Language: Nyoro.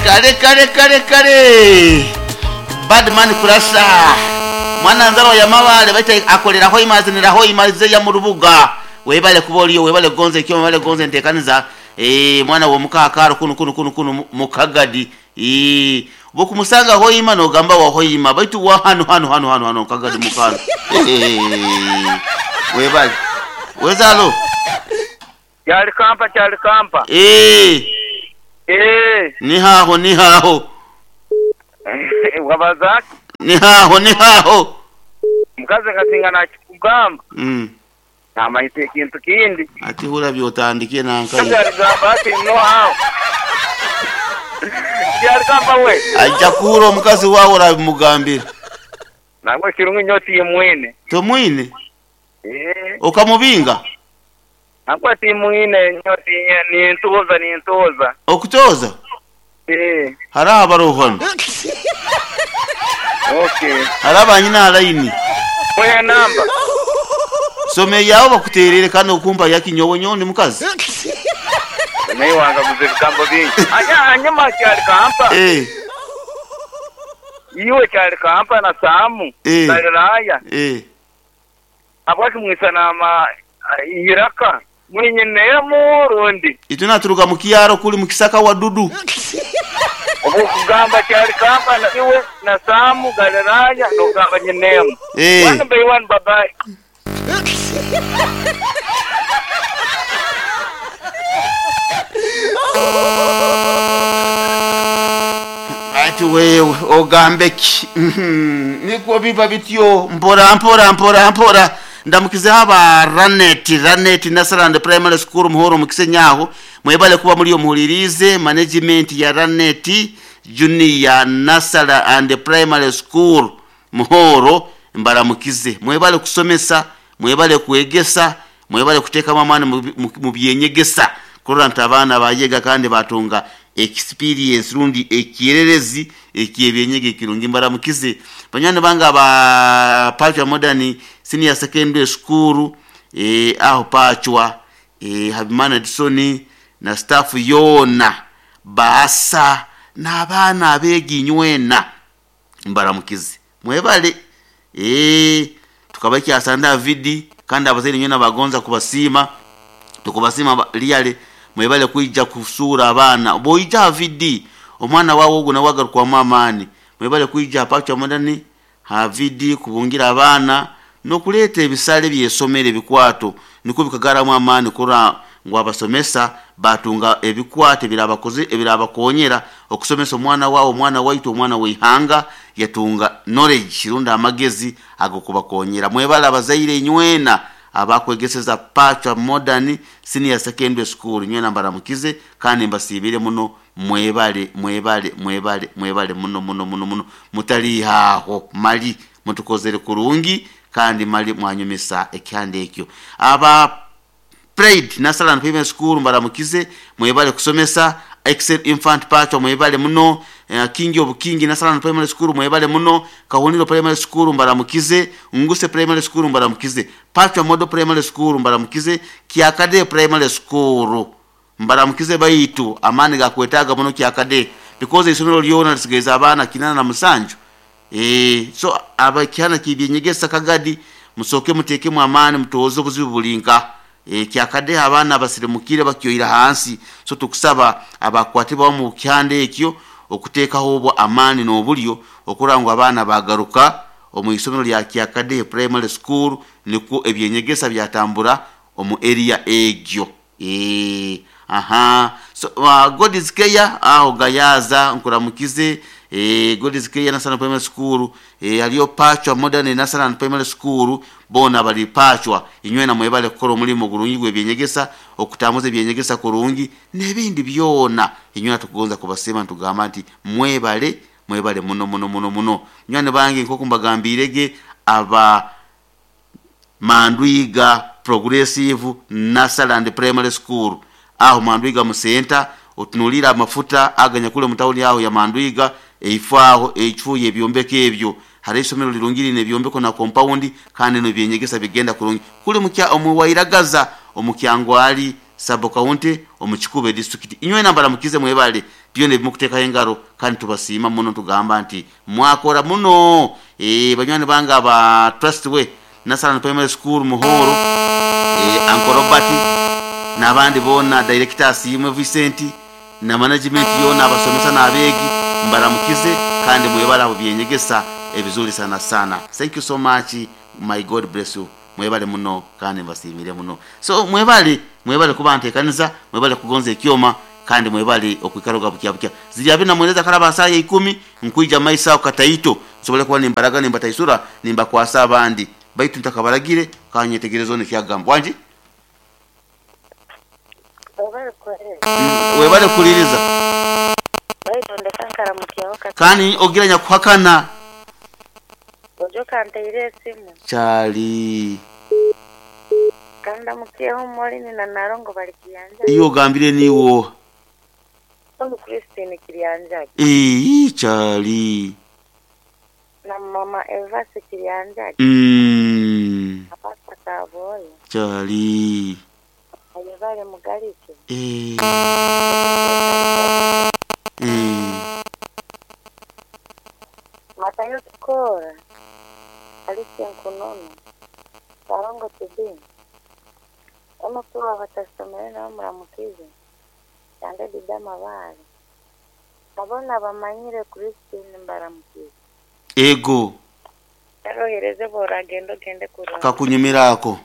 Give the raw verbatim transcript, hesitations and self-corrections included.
Kale kale kale kale Badman Kurasa mwana nzaro ya mabale baita akolera hoima azinira hoima zeya mu rubuga webale kuba oliyo webale gonze ekyo webale gonze ntekaniza eh mwana wo mukakaro kunu kunu kunu kunu mukagadi eh bokumusanga hoima no gamba wa hoima baitu wa hano hano hano hano hano kagadi mukano eh webale wezalo Kyali kampa kyali kampa eh eh ni haho ni haho wabazaki ni haho ni haho mukazi kasinga nakikugamba mm namanyise ekintu kindi ati hura byotandikie nankaye kyali ati no hawo kyali kampa we ajja kuhura omukazi wawe orabimugambira nangwe kirungi nyo timwine tomwine eh okamubinga nangwe timwine nyo tinye nintuza nintuza okutoza eh hari abarohano okay hari abanyina haraini oya namba some yawo bakuterere kandi okumpa yakinyowe nyondi mukazi naye wanga guze ebigambo bingi anya anyuma kyali kampa eh iwe kyali kampa na Samu Eh. Galilaya eh abwaki mwisanama iraka mwinyinemu rundi itunaturuka mu kiyaro kuli mu kisaka wadudu obukugamba kyali kampa na iwe na Samu Galilaya nogamba nyinemu eh one by one bye bye ati wewe ogambeki niko biba bityo mpora mpora mpora mpora ndamukize haba Ranet Ranet Nasarand Primary School muhoro mukisenyaho mwebale kuba muri yo muhuririze management ya Ranet Junior Nasara and Primary School muhoro mbaramukize mwebale kusomesa mwebale kuegesa mwebale kuteekamu amaani mu- mu- mu byenyegesa kurora nti abaana bayega kandi batunga experience rundi ekirerezi ekyebyenyega ekirungi mbaramukize banywani bange aba Pachwa Modern Senior Secondary School eh, aho Pachwa eh, Habimana Edison na staff yona baasa n'abaana abeeginywena mbaramukize mwebale eh tukaba kyasanda vidi kandi abazaire nywena bagonza kubasiima tukubasiima ba- liyale mwebale kwijja kusuura abaana bwoija vidi omwana wawe ogwo nawe agarukwamu amaani mwebale kwijja Pachwa Modern havidi kubungira abaana nokuleeta ebisale byesomero ebikwato nikwo bikagaramu amaani kura ngu abasomesa batunga ebikwato ebirabakoze ebirabakonyera okusomesa omwana wawe omwana waitu omwana weihanga yatunga knowledge rundi amagezi agokubakonyera mwebale abazaire nywena abakwegeseza Pachwa Modern Senior Secondary School nywena mbaramukize kandi mbasiibire muno mwebale mwebale mwebale mwebale muno muno muno muno mutalihaho mali mutukozere kurungi kandi mali mwanyumisa ekyanda ekyo aba Pride Nasaran Primary School mbaramukize mwebale kusomesa Excel Infant Pachwa mwebale muno uh, King of King Nasaran Primary School mwebale muno Kahuniro Primary School mbaramukize Nguse Primary School mbaramukize Pachwa Model Primary School mbaramukize Kiakade Primary School mbaramukize baitu amani gakwetaga muno Kiakade because isomero lyona lisigeza abaana kinana na musanju eh so abakyana kibyenyegesa kagadi musoke mutekemu amaani mutoze obuzibu bulinka e, kyakade abaana abasirimukire bakyoira hansi so tukusaba abakwatibwa mu kyande ekyo okuteekaho obwo amaani n'obulyo okurangwa abaana bagaruka omu isomero lya Kyakade Primary School nikwo ebyenyegesa byatambura omu area egyo e, aha so uh, God is care aho gayaza nkuramukize eh God is care National Primary School eh aliyo Pachwa Modern National Primary School bona bali Pachwa inywena mwebale kukora omulimu gurungi gwebyenyegesa okutambuza ebyenyegesa kurungi n'ebindi byona inywena tukugonza kubasema ntugamba nti mwebale mwebale muno muno muno muno nywani bange nk'oku mbagambirege aba Mandwiga Progressive Nasaland Primary School aho Mandwiga musenta otunulira amafuta aganya kule mutawuni aho ya Mandwiga eifo echuye ebyombeko ebyo hari isomero lirungiri nebyombeko na compound kandi no byenyegesa bigenda kurungi kule mukya omuwairagaza omukyangwali sub county omukikube district inywe nambara mukize mwebale Byona ebimukutekaho engaro, kandi tubasiima muno, tugamba nti mwakora muno. Eh, banywani bange aba Trustway National Primary School Muhoro, eh, Uncle Robert n'abandi boona, director Asiimwe Vincent na management yoona, abasomesa n'abeegi, mbaramukize kandi mwebale abo byenyegesa ebizuri sana sana. Thank you so much, my God bless you. Mwebale muno kandi mbasiimire muno. So mwebale, mwebale kuba ntekaniza, mwebale kugonza ekyoma, kandi mwebale okwikara bukya bukya ziri abiri namweleza kalaba saa ya ikumi nkwija maisa aho kataito nsobole kuba nimbaraga nimbataisura nimbakwasa abandi baitu ntakabaragire kanyetegereza ono ekyagamba wangi. Webale kuhereza. Mm, webale kuliriza. Baitu ndeka nkaramukyaho kati. Kandi ogira nyakuhakana. Ojo kanteire esimu. Kyali. Kandamukyeho Molini na Narongo bali kiyanja. Iyo ogambire niwo. Onu Christine Kiryanjagi. Ii, kyali. Na mama Evasi Kiryanjagi. Mm, Apasta Kaboyo. kyali. Ayebale Mugalike. Eh, eh, Matayo Kikora. Alicia Nkunono. Sarongo T V. Omukuru abatasomere nabo muramukize. Yange Didama Bale. Abona bamanyire Christine mbaramukize. Ego. Erohereze boragenda ogende kurora. Kakunyumirako.